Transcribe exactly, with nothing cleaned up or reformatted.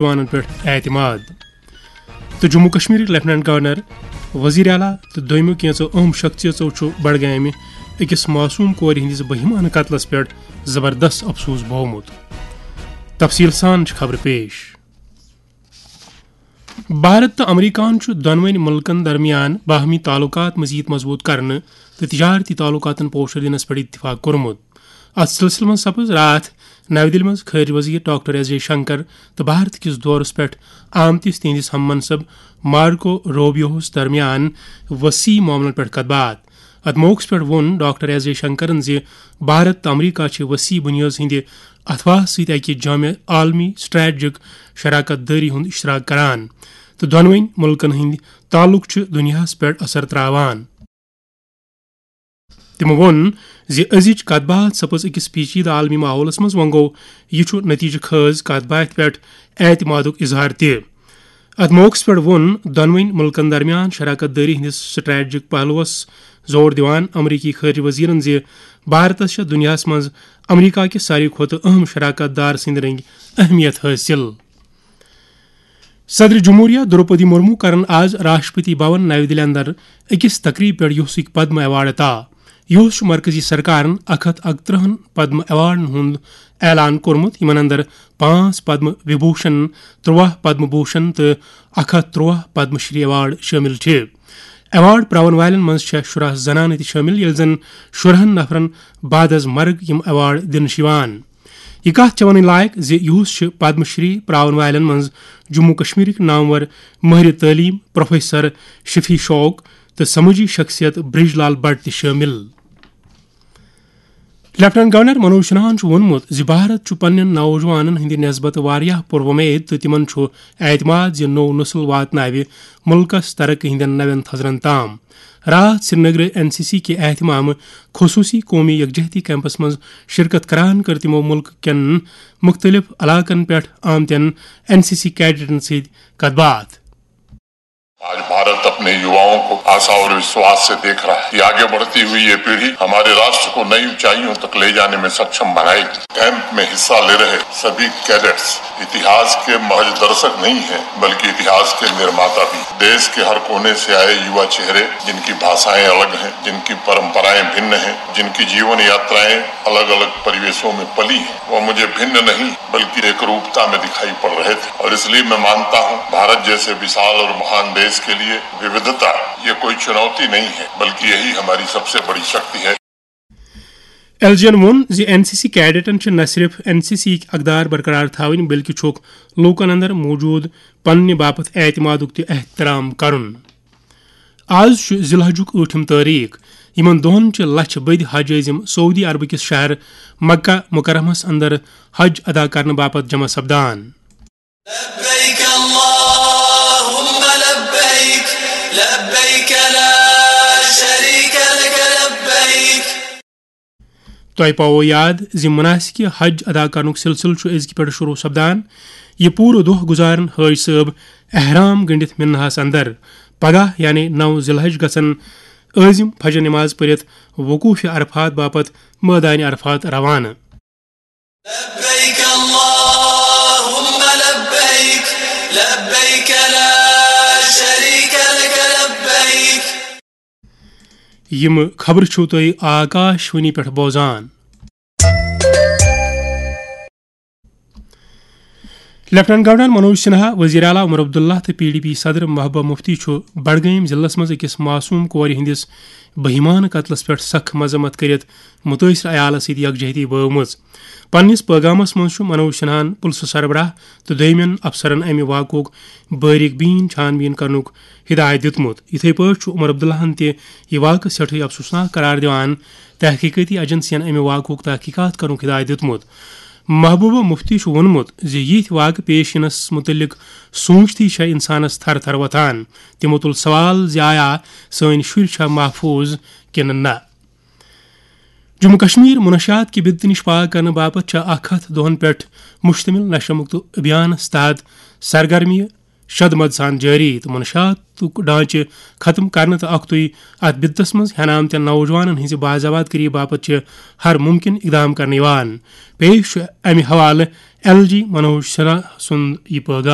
نوجوانن پٮ۪ٹھ اعتماد۔ تہٕ جموں کشمیرٕکۍ لیفٹیننٹ گورنر، وزیر اعلیٰ تہٕ دوٚیمہِ کینٛژو اہم شخصیژو چھُ بڈگامہِ أکِس معصوم کورِ ہٕنٛدِس بہیمانہٕ قتلس پٮ۪ٹھ زبردست افسوس بوومُت۔ تفصیل سان چھِ خبرٕ پیش۔ بھارت تہٕ امریکہن چھُ دۄنوٕنۍ مُلکن درمیان باہمی تعلقات مزید مضبوط کرنہٕ تہٕ تجارتی تعلقاتن پوشر دِنس پٮ۪ٹھ اتفاق کوٚرمُت۔ اتھ سلسلہٕ منٛز سپٕز راتھ نَوِ دِلہِ منٛز خارجہ وزیر ڈاکٹر ایس جے شنکر تہٕ بھارت کِس دورس پٮ۪ٹھ آمتِس تِہنٛدِس ہم منصب مارکو روبیوہس درمیان وسیع معاملن پٮ۪ٹھ کتھ باتھ۔ اتھ موقعس پٮ۪ٹھ ووٚن ڈاکٹر ایس جے شنکرن زِ بھارت تہٕ امریکہ چھِ وسیع بُنیٲژ ہٕنٛدِ اتھواہس سۭتۍ اکہِ جامع عالمی سٹریٹجک شراکت دٲری ہُنٛد اشتراک کران تہٕ دۄنوٕنۍ مُلکن ہٕنٛدۍ تعلق چھِ دُنیاہس پٮ۪ٹھ اثر تراوان۔ تِمو ووٚن زِ أزِچ کتھ باتھ سپٕز أکِس پیچیدٕ عالمی ماحولس منٛز۔ وۄنۍ گوٚو، یہِ چھُ نتیجہٕ خٲز کتھ باتھِ پٮ۪ٹھ اعتمادُک اظہار تہِ۔ اتھ موقعس پٮ۪ٹھ ووٚن دۄنوٕنۍ مُلکن درمیان شراکت دٲری ہٕنٛدِس سٹریٹجک پہلوس زور دِوان امریکی خارجہ وزیرن زِ بھارتس چھےٚ دُنیاہس منٛز امریکہ کِس ساروی کھۄتہٕ اہم شراکت دار سٕنٛدۍ رٔنگۍ اہمیت حٲصِل۔ صدر جمہوریہ دروپدی مرمو کرن آز راشٹرپتی بھون نَوِ دِلہِ اندر أکِس تقریب پٮ۪ٹھ یوسٕکۍ پدم ایوارڈ عطا۔ یوس چھُ مرکزی سرکارن اکھ ہتھ اکترٕہن پدم ایوارڈن ہُنٛد اعلان کوٚرمُت، یِمن اندر پانٛژھ پدم وبھوشن، ترٛواہ پدم بھوشن تہٕ اکھ ہتھ ترٛواہ پدم شری ایوارڈ شٲمِل چھِ۔ ایوارڈ پراون والٮ۪ن منٛز چھےٚ شُراہ زنانہٕ تہِ شٲمِل، ییٚلہِ زن شُراہن نفرن بعد از مرگ یِم ایوارڈ دِنہٕ چھِ یِوان۔ یہِ کتھ چھےٚ ونٕنۍ لایق زِ یُہُس چھِ پدم شری پراون والٮ۪ن منٛز جموں کشمیرٕکۍ نامور مٲہرِ تعلیٖم پروفیسر شفیع شوق تہٕ سمٲجی شخصیت برج لال بٹ تہِ شٲمِل۔ لیفٹیننٹ گورنر منوج سنہاہن چھُ ووٚنمُت زِ بھارت چھُ پننٮ۪ن نوجوانن ہٕنٛدِ نسبتہٕ واریاہ پُروۄمید تہٕ تِمن چھُ اعتماد زِ نوٚو نسل واتناوِ مُلکس ترقی ہٕنٛدٮ۪ن نوٮ۪ن تھزرن تام۔ راتھ سرینگرٕ این سی سی کہِ اہتمامہٕ خصوٗصی قومی یکجہتی کیمپس منٛز شرکت کران کٔر تِمو مُلکہٕ کٮ۪ن مُختٔلِف علاقن پٮ۪ٹھ آمتٮ۪ن این سی سی کیڈٹن سۭتۍ کتھ باتھ۔ آج भारत अपने युवाओं को आशा और विश्वास से देख रहा है कि आगे बढ़ती हुई ये पीढ़ी हमारे राष्ट्र को नई ऊंचाइयों तक ले जाने में सक्षम बनाएगी। कैंप में हिस्सा ले रहे सभी कैडेट्स इतिहास के महज दर्शक नहीं हैं, बल्कि इतिहास के निर्माता भी। देश के हर कोने से आए युवा चेहरे, जिनकी भाषाएं अलग हैं, जिनकी परंपराएं भिन्न हैं, जिनकी जीवन यात्राएं अलग-अलग परिवेशों में पली हैं, वह मुझे भिन्न नहीं, बल्कि एकरूपता में दिखाई पड़ रहे थे। और इसलिए मैं मानता हूं, भारत जैसे विशाल और महान देश के लिए विविधता ये कोई चुनौती नहीं है, बल्कि यही हमारी सबसे बड़ी शक्ति है। ایل جی ین ووٚن زِ این سی سی کیڈٹن چھِ نہ صرف این سی سی یِکۍ اقدار برقرار تھاوٕنۍ، بلکہِ چھُکھ لوٗکن اندر موٗجوٗد پننہِ باپتھ اعتمادُک تہِ احترام کرُن۔ آز چھُ ذی الحجُک ٲٹھِم تٲریخ۔ یِمن دۄہن چھِ لچھِ بٔدۍ حج عٲزِم سعودی عربہٕ کِس شہر مکہ مکرمس اندر حج ادا کرنہٕ باپتھ جمع سپدان۔ لبيك اللهم لبيك، لبيك لا شريك لك لبيك۔ تۄہہِ پاوو یاد زِ مناسکِ حج ادا کرنُک سلسلہٕ چھُ أزکہِ پٮ۪ٹھٕ شروع سپدان۔ یہِ پوٗرٕ دۄہ گُزارن حٲج صٲب احرام گٔنڈِتھ مناہس اندر۔ پگاہ یعنی نو ذی الحج گژھن عٲزِم فجر نماز پٔرِتھ وقوف عرفات باپتھ مٲدانِ عرفات روانہٕ۔ لبيك اللهم لبيك، لبيك لا شريك لك لبيك۔ یِم خبرٕ چھِو تُہۍ آکاش وانی پٮ۪ٹھ بوزان۔ لیفٹیننٹ گورنر منوج سنہا، وزیر اعلیٰ عمر عبداللہ تہٕ پی ڈی پی صدر محبوبہ مفتی چھُ بڈگٲمۍ ضلعس منٛز أکِس معصوم کورِ ہٕنٛدِس بہیمانہٕ قتلس پٮ۪ٹھ سخ مذمت کٔرِتھ مُتٲثرٕ عیالس سۭتۍ یکجہتی بٲومٕژ۔ پننِس پٲغامس منٛز چھُ منوج سنہاہن پُلسہٕ سربراہ تہٕ دوٚیمٮ۪ن افسرن امہِ واقعُک باریک بیٖن چھان بیٖن کرنُک ہدایت دیُتمُت۔ یِتھے پٲٹھۍ چھُ عمر عبداللہن تہِ یہِ واقعہٕ سٮ۪ٹھٕے افسوسناک قرار دِوان تحقیقٲتی ایجنسین امہِ واقعُک تحقیقات کرنُک ہدایت دیُتمُت۔ محبوبہ مفتی چھُ ووٚنمُت زِ یِتھۍ واقعہٕ پیش یِنس مُتعلق سوٗنٛچتھٕے چھےٚ اِنسانس تھر تھر وۄتھان۔ تِمو تُل سوال زِ آیا سٲنۍ شُرۍ چھا محفوٗظ کِنہٕ نہ؟ جموں کشمیر منشیات کہِ بدعت نِش پاک کرنہٕ باپتھ چھےٚ اکھ ہتھ دۄہن پٮ۪ٹھ مشتمل نشہ مکت ابھیانس تحت سرگرمی شد مد سان جٲری تہٕ منشیاتُک ڈھانچہٕ ختم کرنہٕ تہٕ اکھتُے اتھ بدعتس منٛز ہٮ۪نہٕ آمتٮ۪ن نوجوانن ہٕنٛزِ باضابط کٔری باپتھ چھِ ہر ممکن اقدام کرنہٕ یِوان۔ پیش چھُ امہِ حوالہٕ ایل جی منوج سنہا سُنٛد یہِ پٲغام۔